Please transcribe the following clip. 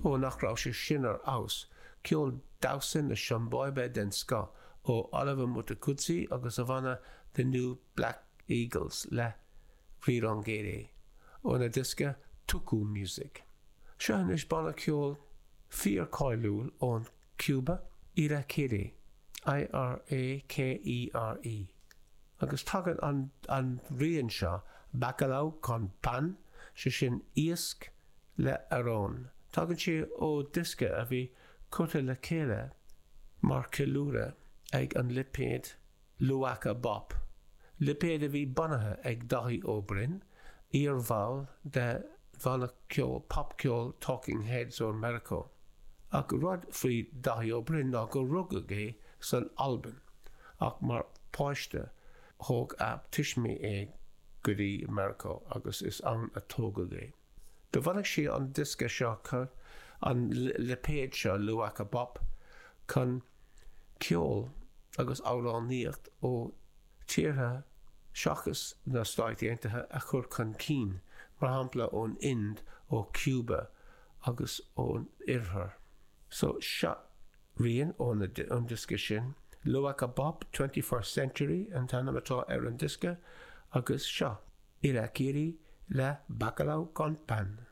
Ó nach raibh sé sin ar fheabhas, ceol damhsa na Siombáibe den scoth ó Oliver Mtukudzi agus a bhanna The New Black Eagles le Rirongere óna diosca Tuku Music. Seo anois banna ceoil fíor-cáiliúil ón Cuba, Irakere, I-R-A-K-E-R-E. Agus tagann an an rian seo, Bacalao con Pan, sé sin iasc le arán. Tagann sé ó diosca a bhí curtha le chéile mar cheiliúradh ag an lipéad Luaka Bop, lipéad a bhí bunaithe ag Daithí Ó Broin, iar-bhall de bhanna ceoil popcheoil Talking Heads ó Meiriceá. Ach rud faoi Daithí Ó Broin ná gur rugadh é san Albain, ach mar pháiste thóg a tuismí é go dtí Meiriceá agus is ann a tógadh é. Do bhunaigh sé an diosca seo, an lipéad seo, Luaka Bop, chun ceol agus amhránaíocht ó tíortha seachas na Stáit Aontaithe a chur chun cinn, mar shampla ón Ind, ó Cuba agus ón Oirthear. So, seo rian ón diosca sin. Luaka Bop, 21st Century an t-ainm atá ar an diosca agus seo Irakere le Bacalao con Pan.